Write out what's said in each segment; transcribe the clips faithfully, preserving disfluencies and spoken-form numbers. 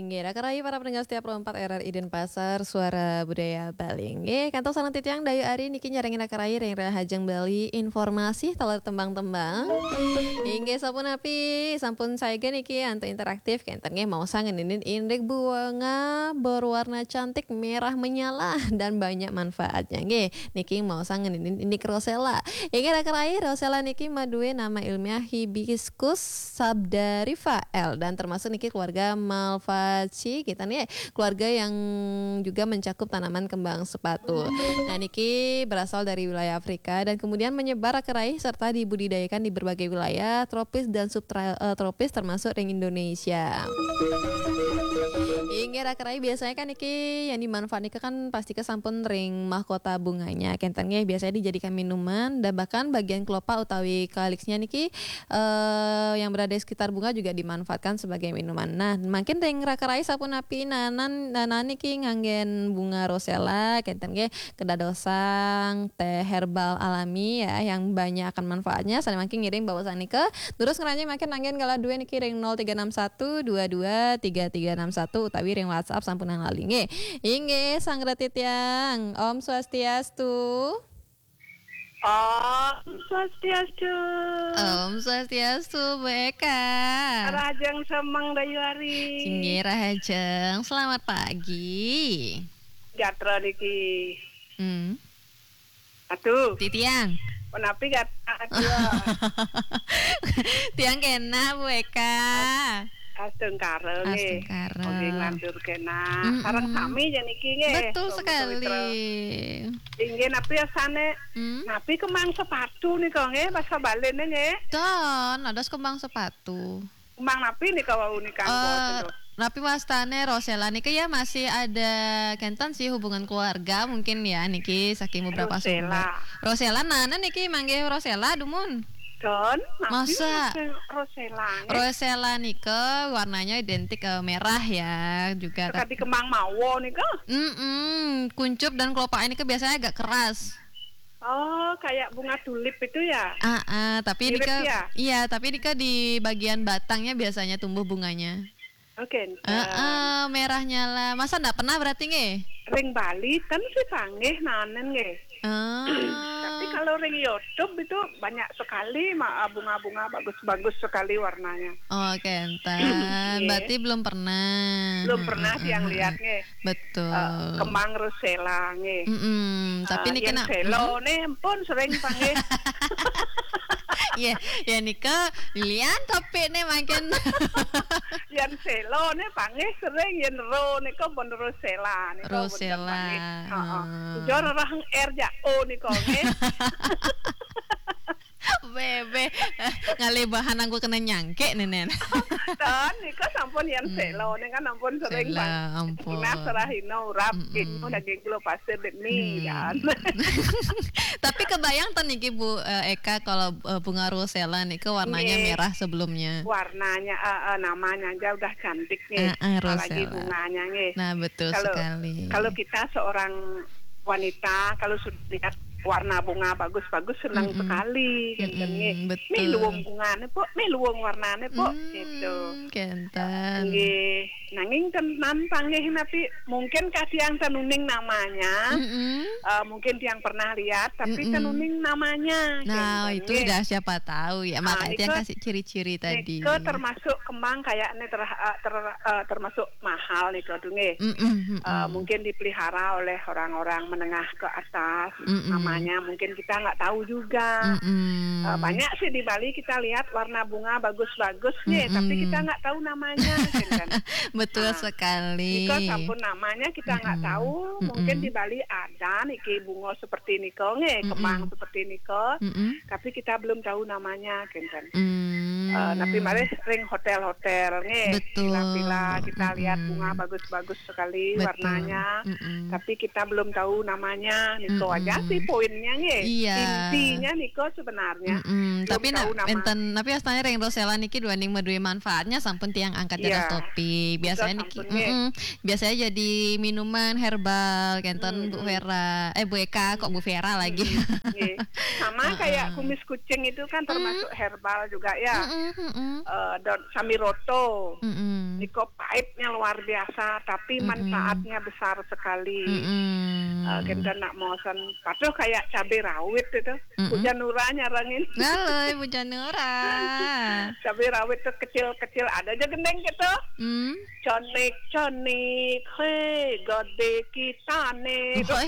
Nggih, raka rayi para pendengar setia Pro empat R R I Denpasar, Suara Budaya Bali. Nggih, kantos sareng titiang Dayu Ari niki nyarengin raka rayi ring Rahajeng Bali, informasi taler tembang-tembang. Inggih, sapunapi, sampun saegan niki antuk interaktif, kenten nggih maosang ngeninin indik bunga berwarna cantik merah menyala dan banyak manfaatnya. Nggih, niki maosang ngeninin indik rosella. Inggih, raka rayi, rosella niki madué nama ilmiah Hibiscus sabdariffa L dan termasuk niki keluarga Malvaceae, kita nih keluarga yang juga mencakup tanaman kembang sepatu. Nah, niki berasal dari wilayah Afrika dan kemudian menyebar, raka rayi, serta dibudidayakan di berbagai wilayah tropis dan subtropis, termasuk ring Indonesia. Inggih, raka rayi, biasanya kan niki yang dimanfaat niki kan pasti kesampun ring mahkota bunganya. Kenten nggih, biasanya dijadikan minuman dan bahkan bagian kelopak utawi kaliksnya niki, eh, yang berada di sekitar bunga juga dimanfaatkan sebagai minuman. Nah, mungkin ring raka rayi sapunapi nanan, nanan niki nganggen bunga rosella, kenten nggih, kedadosang teh herbal alami ya, yang banyak akan manfaatnya. Sané mangkin ngiring baosan nika. Terus ngranjing mangkin anggén galah dué niki ring nol tiga enam satu dua dua tiga tiga enam satu utawi ring WhatsApp sampunang lali nggih. Inggih, sareng titiang. Om Swastiastu. Om Swastiastu. Om Swastiastu, Bu Eka. Rahajeng semeng Dayu Ari. Inggih, rahajeng. Selamat pagi. Gatra niki. Hmm. Aduh. Titiang. Menapi gatra? Tiang kena, Bu Eka. Astungkara nggih. Astungkara. Nggih, nglantur kena. Mm-mm. Sareng sami ya niki nggih. Betul sekali. Inggih, napi asane? Hmm? Napi kembang sepatu nika nggih, basa Baline nggih? Don, ada kembang sepatu. Kembang napi nika wau nika? Eh, napi wastane rosella nika ya, masih ada kenten sih hubungan keluarga mungkin ya niki saking beberapa sumber. Rosella. Rosella, nah, nah niki manggih rosella dumun. Don, napi? Masa? Rosella nggih? Rosella nika warnanya identik, eh, merah ya juga. Tadi kembang mawa nika? Mm-mm, kuncup dan kelopaknya nika biasanya agak keras. Oh, kayak bunga tulip itu ya? Ah, ah, tapi mirip nika, ya? Iya, tapi nika di bagian batangnya biasanya tumbuh bunganya. Oke. Heeh, merahnya lah. Masa ndak pernah berarti nggih? Ring Bali ten sih panggih nanen nggih. Ah. Tapi kalau ring YouTube itu banyak sekali ma-, bunga-bunga bagus-bagus sekali warnanya. Oh, kenten. Nggih. Berarti belum pernah. Belum pernah. Heeh, yang heeh, lihat nggih. Betul. Eh, kembang rosella nggih. Mm-mm. Tapi nika yen selo ne pun sering panggih. Iya, ya nika lian tapi ne mangkin. Yen selo ne panggih sering, yen ro nika pun rosella nika pun panggih. Rosella. Heeh. Jor rahang R ja O nika nggih. Bebe, ngalih bahan anggo kena nyangkek nenen. Tan, nika sampun yen selo, nika kan ampun sering. Selo, ampun. Pernah serahina urap, mm-mm, inu daging kula pasir dek mi, kan. Tapi kebayang ten niki, Bu, eh, Eka, kalau, eh, bunga rosella nika warnanya merah sebelumnya. Nggih. Warnanya, eh, eh, namanya aja udah cantik nih. Eh, eh, apalagi rosella. Bunganya nggih. Nah, betul sekali. Kalau kita seorang wanita, kalau sudah lihat warna bunga bagus-bagus, senang sekali, mm-mm, kenten nggih. Mm-mm, betul. Mih luwung bungane, Pok, mih luwung warnane, Pok, gitu. Hmm, kenten. Nggih. Nanging ten, ten panggih napi, mungkin katiang ten uning namanya, mm-mm, eh, mungkin tiang pernah lihat, tapi ten uning namanya, kenten nggih. Nah, itu udah siapa tahu ya, makanya tiang kasih ciri-ciri tadi. Nika termasuk kembang kayaknya ter-, eh, ter-, eh, termasuk mahal nih, Kak, nggih. Mm-mm, mm-mm. Eh, mungkin dipelihara oleh orang-orang menengah ke atas, mm-mm, namanya mungkin kita nggak tahu juga. Mm-mm. Eh, banyak sih di Bali kita lihat warna bunga bagus-bagus nggih, tapi kita nggak tahu namanya, gitu kan. Betul sekali. Nah, nika sampun namanya kita nggak tahu, mungkin di Bali ada niki bunga seperti nika nggih, kembang seperti nika, tapi kita belum tahu namanya, kenten. Hmm. Eh, tapi malih ring hotel-hotel nggih, betul, villa-villa, kita lihat bunga bagus-bagus sekali warnanya, tapi kita belum tahu namanya. Niko aja sih poinnya nggih. Iya. Intinya niko sebenarnya. Belum tahu nama. Tapi enten, tapi astanya ring rosella niki duaning madué manfaatnya sampun tiang angkat dados topik. Biasanya niki, mm-mm. Biasanya jadi minuman herbal, kenten, Bu Vera. Eh, Bu Eka, kok Bu Vera lagi? Nggih. Sama kayak kumis kucing itu kan termasuk herbal juga ya. Mm-mm, mm-mm. Eh, daun samiroto. Mm-mm. Niko pahitnya luar biasa, tapi manfaatnya besar sekali. Mm-mm. Eh, kenten nak mosen, patuh kayak cabai rawit itu. Mm-mm. Hujan Nura nyarengin. Halo, Ibu Janura. Cabai rawit tuh kecil-kecil, ada aja gendeng gitu. Hmm. Conik-conik, hei, gede kita nih. Woi.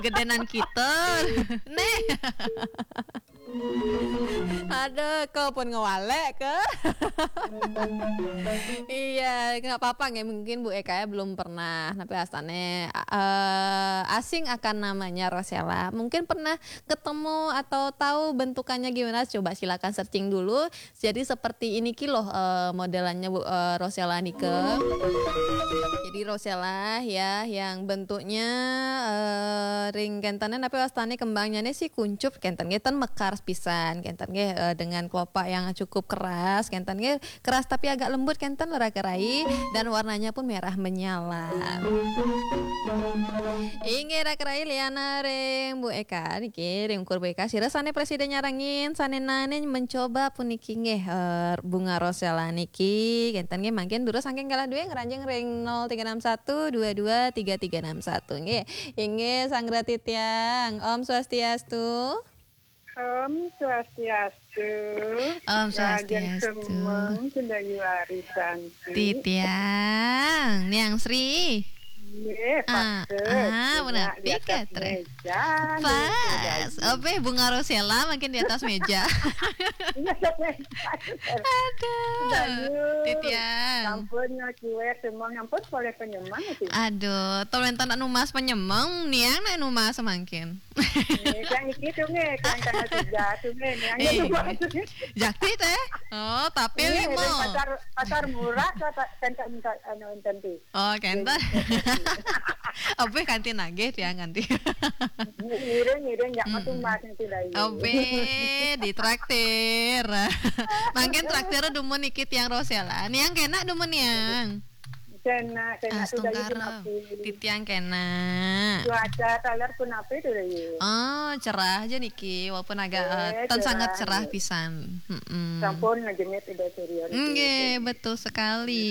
Gedenan kita. Nih. Aduh, kau pun ngewalek ke? Iya, nggak apa-apa nggih. Mungkin Bu Eka ya belum pernah, tapi astane, eh, asing akan namanya Rosella. Mungkin pernah ketemu atau tahu bentukannya gimana? Coba silakan searching dulu. Jadi seperti ini ki loh, eh, modelannya, Bu, eh, Rosella nike. Jadi Rosella ya yang bentuknya, eh, ring kentene, tapi wastane kembangnya nih si kuncup, kenten nggih, ten mekar pisan, kenten nggih, eh, dengan kelopak yang cukup keras, kenten nggih, keras tapi agak lembut, kenten, Raka Rai, dan warnanya pun merah menyala. Inggih, Raka Rai, liana ring Bu Eka niki, ring ukur Bu Eka, sira sane prasida nyarengin, sane nane mencoba puniki nggih, eh, bunga Rosella niki, kenten nggih, mangkin durus saking galah duwe ngranjing ring nol tiga enam satu dua dua tiga tiga enam satu nggih. Inggih, Sang Rati Tiang. Om Swastiastu. Om Swastiastu. Om Swastiastu. Semeng Sendayu Arisanti. Titiang, Niang Sri. Nggih, ah, ah, benar. Tiga, tre. Pas. Oke, bunga Rosella makin di atas meja. Iya, di atas meja. Aduh. Sendayu. Titiang. Ampun, ngakiwe semua, ampun, boleh penyemang sih. Aduh, tolong tak numas penyemang, Niang nak numas semangkin. Nggih, yang iki tuh nggih, yang tanggal tiga tuh nggih, yang itu. Jakti teh? Oh, tapi lima. Pasar, pasar murah, kata, kan, kan, kan, anu, enten tuh. Oh, kenten. Obeh kanti nagih, tiang kanti. Ngiring, ngiring, ya, matu mas yang tidak ini. Obeh, ditraktir. Mangkin traktir dumun niki tiang Rosella. Niang kena dumun niang. Kena, kena sudah. Astungkara. Titiang kena. Cuaca taler pun apa itu, ya? Oh, cerah aja niki, walaupun agak, eh, ten sangat cerah pisan. Mm-mm. Sampun ngejemit udah surya niki. Nggih, betul sekali.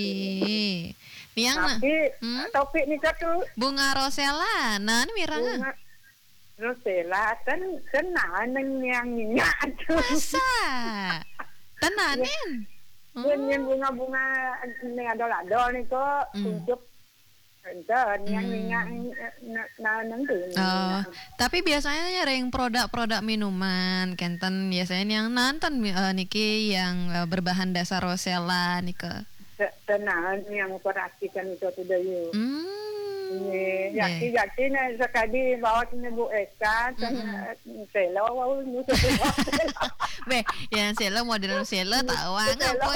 Niang, tapi, hmm? Topik nika tuh. Bunga Rosella, nah, ini mirang. Bunga Rosella, ten, ten nah, neng yang minyak tuh. Masa? Tenanin? Yen, yen bunga-bunga ning adol-adol niku kuncup enten yang minyak, eh, na-, na-, neng tuh. Oh, tapi biasanya ya ring produk-produk minuman, kenten biasanya yang nanten, eh, niki yang, eh, berbahan dasar Rosella nika. Te-, tenanan yang perhatikan itu tuh, Dayu. Hmm. Nggih, yakti-yakti nek sekadi bawa sini Bu Eka, kan, eh, Sela, wau, nyusul Sela. Beh, yang Sela, model Sela, tahu, ah, sela,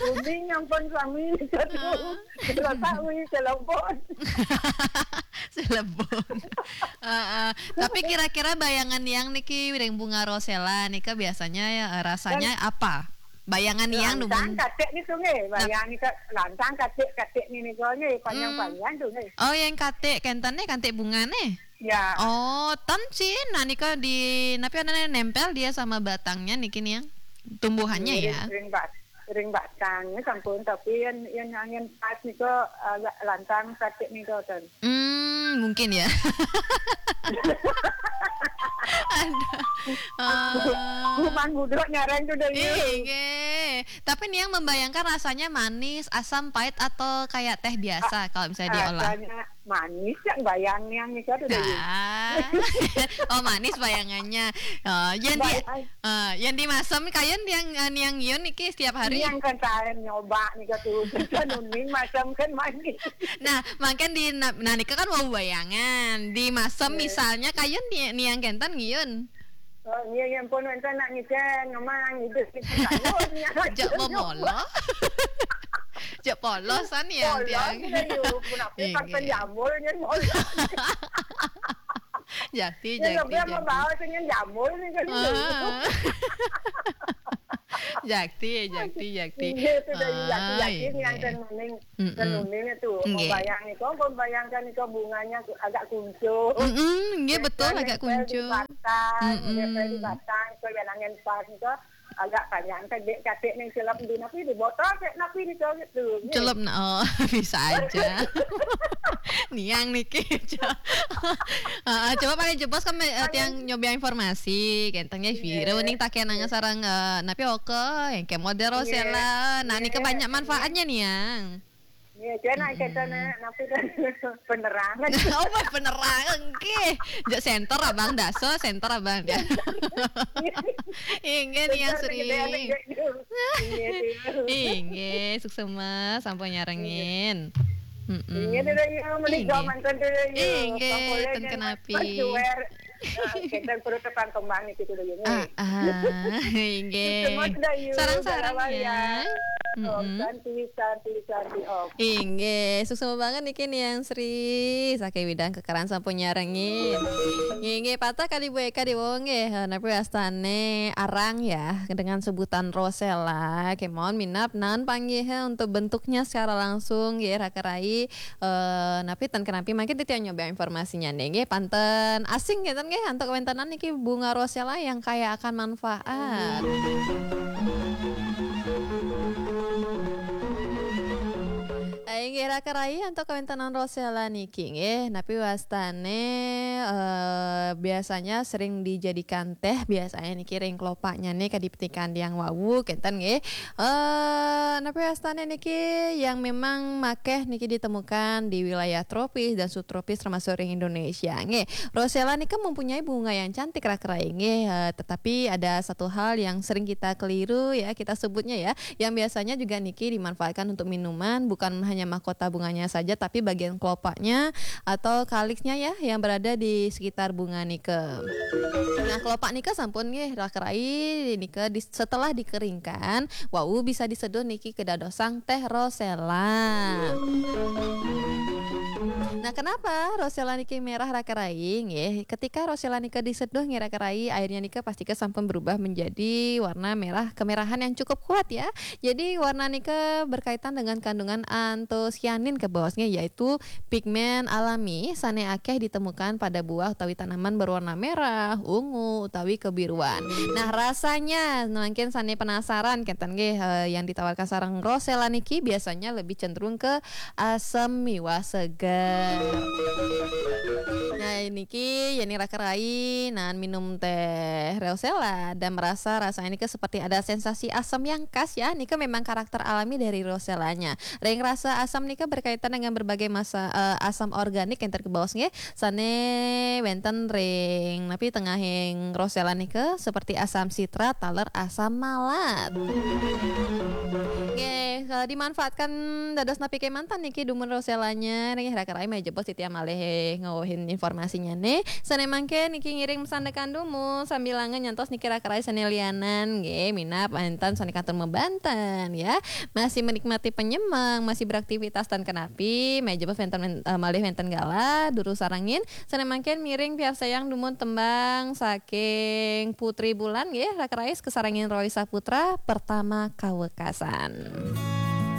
kuning yang pun suami itu tuh. Sela tahu, Sela pun. Sela pun. Heeh. Tapi kira-kira bayangan yang niki ring bunga Rosella nika biasanya ya, eh, rasanya apa? Bayangan yang lancang dumun. Katik niku nggih, nah. Bayang nika lancang katik, katik niku nggih, panjang-panjang tuh nggih. Oh, yang katik kenten nih, katik bunga nih. Ya. Oh, ten sih, nah nika di, napi anane nempel dia sama batangnya niki nih yang tumbuhannya ya. Ring bat-, ring batangnya sampun, tapi yang, yang angin pas nika agak lancang katik nika ten. Hmm, mungkin ya. Aduh. Bukan budok nyarang tuh, Dayu. Iya. Tapi niang membayangkan rasanya manis, asam, pahit, atau kayak teh biasa kalau misalnya diolah? Rasanya manis, yang bayang niang nika tuh, Dayu. Ah. Oh, manis bayangannya. Oh, yang di, eh, yang dimasem kayun niang, eh, niang ngiun niki setiap hari? Niang kan saya nyoba nika tuh. Nuning masem kan manis. Nah, mangkin di na-, nah, nika kan wau bayangan. Di masem misalnya kayun ni-, niang kenten ngiun. Oh, iya, ya ampun, wenten nak ngicen, ngemang, hidup, ngicen, kayun, ya. Jak momolo. Jak polosan ya, polos tiang. Iya, yuk, kenapa pas penjamur, ya, polos. Jati, ya, jati, lebih jati. Mau bawa sini jamur nih, kan. Ah. Jakti, jakti, jakti. Nggih, itu dari jakti, ah, jakti yang nggih. Tenuning, mm-mm. Tenuning itu. Nggih. Membayang itu, membayangkan itu bunganya agak kuncup. Mm-mm, nggih, betul, agak kuncup. Batang, mm-mm. Nggih, di batang, itu yang angin pas itu agak panjang, kan dek katik ning celep di napi di botol, kayak napi di cowok itu. Nggih. Celep, nah, oh, bisa aja. Niang niki. Heeh, coba paling jebos kan, eh, tiang nyoba informasi, kenten nggih viral ning takenangan sareng, eh, napi oke, yang kayak model Rosella. Nah, niki banyak manfaatnya nih, yang. Iya, cuman kenten napi kan penerangan. Oh, penerangan nggih. Jak center Abang Daso, center Abang. Inggih nih yang sering. Inggih, suksema sampun nyarengin. Mm-mm. Inggih, dulu ya, mending mantan dulu ya. Inggih, ten kenapi. Kita perlu tekan kembang itu dulu ya. Ah, ah, inggih. Sarang-sarang ya. Mm-mm. Santi, santi, santi, oh. Inggih, suksema banget niki nih yang Sri. Saking widang kekeran sampun nyarengin. Inggih, patah kali Bu Eka di wong nggih. Napi wastane arang ya dengan sebutan Rosella. Kemon minap nan panggih untuk bentuknya secara langsung nggih raka rai. Eh, napi ten kenapi mangkin titiang nyoba informasinya nih nggih, panten asing ngeten nggih antuk kawéntenan niki bunga rosella yang kaya akan manfaat. Inggih raka rai antuk kawéntenan rosella niki nggih, napi wastane eh, biasanya sering dijadikan teh, biasanya niki ring kelopaknya nih kadipetikan yang wawu kenten nggih. Eh, napi wastane niki yang memang makeh niki ditemukan di wilayah tropis dan subtropis termasuk ring Indonesia. Nggih, rosella nika mempunyai bunga yang cantik raka rai nggih, eh, tetapi ada satu hal yang sering kita keliru ya, kita sebutnya ya, yang biasanya juga niki dimanfaatkan untuk minuman, bukan hanya mahkota bunganya saja tapi bagian kelopaknya atau kaliksnya ya yang berada di sekitar bunga nika. Nah, kelopak nika sampun nggih raka rai nika di, setelah dikeringkan, wau bisa diseduh niki kedadosang teh rosella. Nah, kenapa rosella niki merah raka rai nggih? Ketika rosella nika diseduh nggih raka rai, airnya nika pasti ke sampun berubah menjadi warna merah kemerahan yang cukup kuat ya. Jadi warna nika berkaitan dengan kandungan antosianin ke bawasnya, yaitu pigmen alami sane akeh ditemukan pada buah utawi tanaman berwarna merah, ungu utawi kebiruan. Nah, rasanya mungkin sane penasaran kenten nggih, eh, yang ditawarkan sareng rosella niki biasanya lebih cenderung ke asam miwah seger. Nah, niki yeni raka rai nan minum teh rosella dan merasa rasanya niki seperti ada sensasi asam yang khas ya. Nika memang karakter alami dari rosellanya. Ring rasa asam nika berkaitan dengan berbagai masa, eh, asam organik yang terkebawas nggih. Sane wenten ring napi tengahing rosella nika seperti asam sitrat, taler asam malat. Nggih, kalau dimanfaatkan dados napi kemanten niki dumun rosellanya nggih raka rai meh jebos titiang malih ngawuhin informasinya nih. Sane mangke niki ngiring sandekan dumun sambilangan nyantos niki raka rai sane lianan nggih minap enten sane kantun mabanten ya. Masih menikmati penyemang, masih beraktivitas tan kenapi, meh jebos wenten, eh, malih wenten galah durus sarengin. Sane mangke miring piarsayang dumun tembang saking Putri Bulan nggih raka rai kasarengin Roy Saputra Pertama Kawekasan.